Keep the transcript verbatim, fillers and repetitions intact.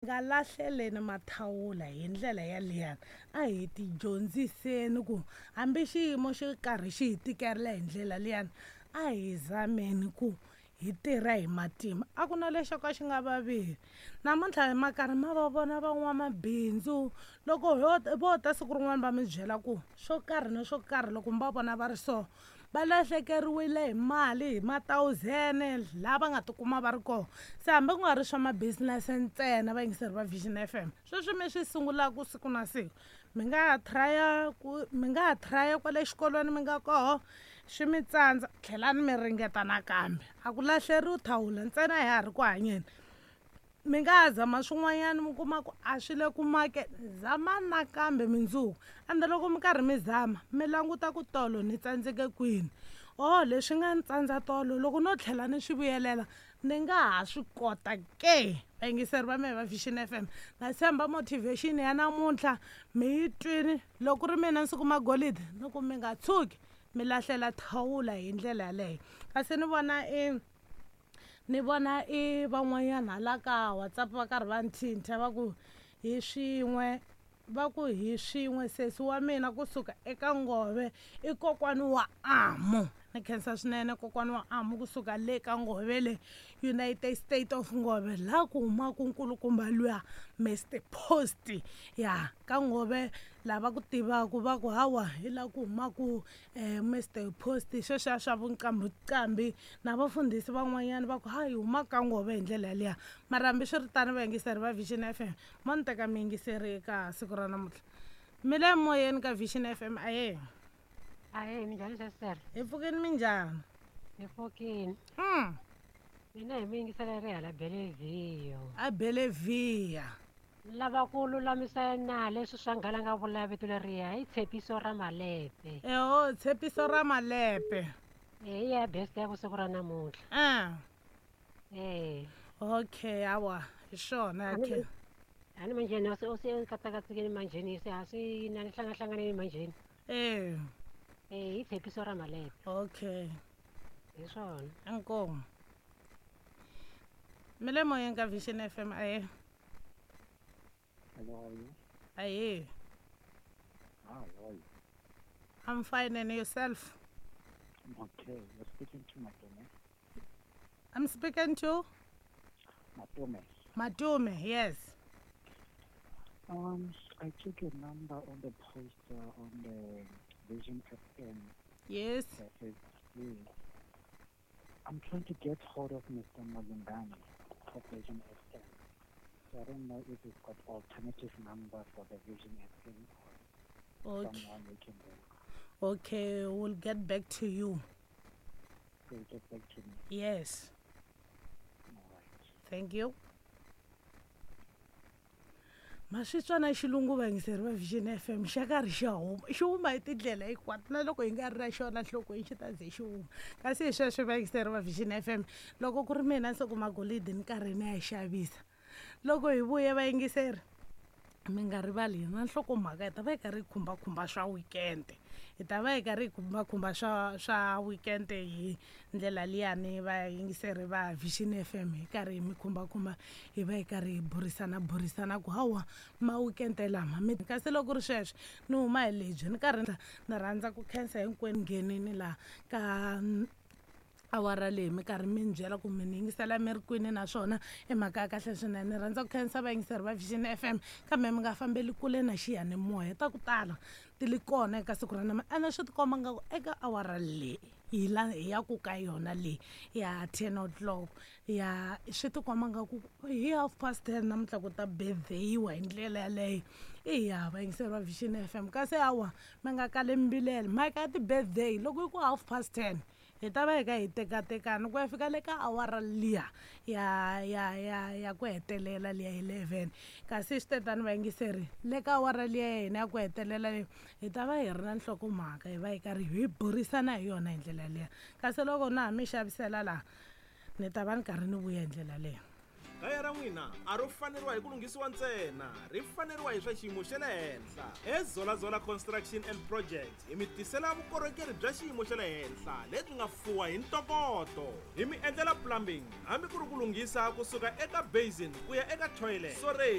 Nga lahleleni mathawula hi ndlela yaliyani, a hi ti dyondziseni ku hambi xiyimo xo karhi xi hi tikela hi ndlela liyani, a hi zameni ku hi tirha hi matimba. A ku na lexo ka xi nga vaviki. Namuntlha ma karhi ma va vona van'wamabindzu, loko ho vo ta siku rin'wana va mi byela ku swo karhi na swo karhi, loko mi va vona va ri so, va lahlekeriwile hi mali hi ma-thousand laha va nga tikuma va ri kona. Se hambi ku nga ri swa ma-business ntsena, vayingiseri va Vision F M, sweswi mi swi sungulaka siku na siku, mi nga ha try-a ku mi nga ha try-a kwale xikolweni mi nga koho, swi mi tsandza, tlhelani mi ringeta nakambe. A ku lahleriwi thawula, ntsena ha ha ri ku hanyeni. Mi nga ha zama swin'wanyana, mi kuma ku a swi le ku makeni, zamani nakambe mindzuku. Ende loko mi karhi mi zama, mi languta ku tolo ni tsandzeke kwini, oh, leswi nga ni tsandza tolo, loko no tlhela ni swi vuyelela ni nga ha swi kota ke. Vayingiseri va mehe va Vision F M, na tshemba motivation ya namuntlha mi yi twini. Loko ku ri mina Nsuku Magolide, ni ku mi nga tshuki mi lahlela thawula hi ndlela yaleyo. Kasi ni vona i ni vona i van'wanyana hala ka WhatsApp va karhi va nthinta, va ku hi swin'we, va ku hi swin'we sesi wa mina kusuka eka Ngove, i kokwani wa Amu. Ni khensa swinene kokwani wa Amu kusuka le ka Ngove, le United State of Ngove, laha ku humaka nkulukumba luya Mister Post ya ka Ngove. Lava ku tivaka va ku hawa, hi laha ku humaka um Mister Post, sweswiya swa vuqambiqambi na vafundhisi van'wanyana, va ku hayi, huma ka Ngove hi ndlela yaliya. Mara hambiswiritano, vayingiseri va Vision F M, mo ni teka miyingiseri eka siku ra namuntlha, mi le moyeni ka Vision F M, aye. Ahee, minjhani sestere? Hi pfukini, minjhani? Hi pfukini. mm. Mina hi muyingiseleri hala Bellevue. A Bellevue. Lava ku lulamisa na leswi swa nghala nga vula vito leriya, i Tshepiso ra Malepe. Eho, Tshepiso ra Malepe. E ya best ya vusiku ra namuntlha. Ah. Eh. Okay, awa, hi swona. A ni okay a ni manjheni se se katsakatsikeni manjheni, se a swi na ni hlangahlanganeni manjheni. Eh. Eh, i Tshepiso ra Malepe. Okay. Hi swona. Inkomu. Mi le moyeni ka Vision F M, aye. Hello, how are you? Aye. Hi, how are you? I'm fine, and yourself? I'm okay. You're speaking to Matome. I'm speaking to Matome. Matume, yes. Um, I took your number on the poster on the Vision F M. Yes. Uh, Facebook. I'm trying to get hold of Mister Malungani of Vision F M. So I don't know if you've got alternative number for the Vision F M or Okay. someone we can do. Okay, we'll get back to you. So get back to me. Yes. All right. Thank you. Ma swi twa na xilungu, vayingiseri va Vision F M, xa karhi xa huma, xi huma hi tindlela hinkwato, na loko hi nga ri na xona nhlokweni, xi ta ze xi huma. Kasi hi sweswo, vayingiseri va Vision F M, loko ku ri mina Nsuku Magolidi, ni karhi ni ya xavisa. Loko hi vuye, vayingiseri, mi nga rivali na nhlokomhaka, hi ta va hi karhi hi khumbakhumba swa weekend, hi ta va hi karhi hi khumbakhumba swa swa weekend hi ndlela liyani. Vayingiseri va Vision F M, hi karhi hi mi khumbakhumba, hi va hi karhi hi burisana burisana ku hawa, ma weekend lama mi. Kasi loko ri sweswo, ni huma hi lebyi, ni karhi ni rhandza ku khensa hinkwenu nghenini laha ka awara leyi, mi karhi mi ni byela ku mi ni yingisela mi ri kwini, naswona i mhaka ya kahle swinene. Ni rhandza ku khensa vayingiseri va Vision F M, kambe mi nga fambeli kule na xiyanimoya, ta ku tala ti li kona eka siku ra nama. Ene swi tikomba nga ku eka awara leyi hi la hi ya ku ka yona leyi ya ten o'clock ya, swi tikomba nga ku hi half past ten namuntlha ku ta birthday-iwa hi ndlela yaleyo. Iya, vayingiseri va Vision F M, kasi hawa, mi nga kali mbilela mhaka ya ti-birthday. Loko yi ku half past ten, hi ta va hi ka hi tekatekana ku ya fika le ka awara liya ya ya ya ya ku hetelela liya eleven. Kasi swi tetani, vayingiseri, le ka awara liya ya hina ya ku hetelela leyi, hi ta va hi ri na nhlokomhaka, hi va hi karhi hi burisana hi yona hi ndlela liya. Kasi loko na ha mi xavisela laha, ni ta va ni karhi ni vuya hi ndlela leyi. Kaya ra n'wina a ro faneriwa hi ku lunghisiwa ntsena, ri faneriwa hi swa xiyimo xa le henhla. Ezolazola Construction and Project hi mi tisela vukorhokeri bya xiyimo xa le henhla lebyi nga fuwa hi ntokoto. Hi mi endlela plumbing, hambi ku ri ku lunghisa kusuka eka basin ku ya eka toilet. Sorry.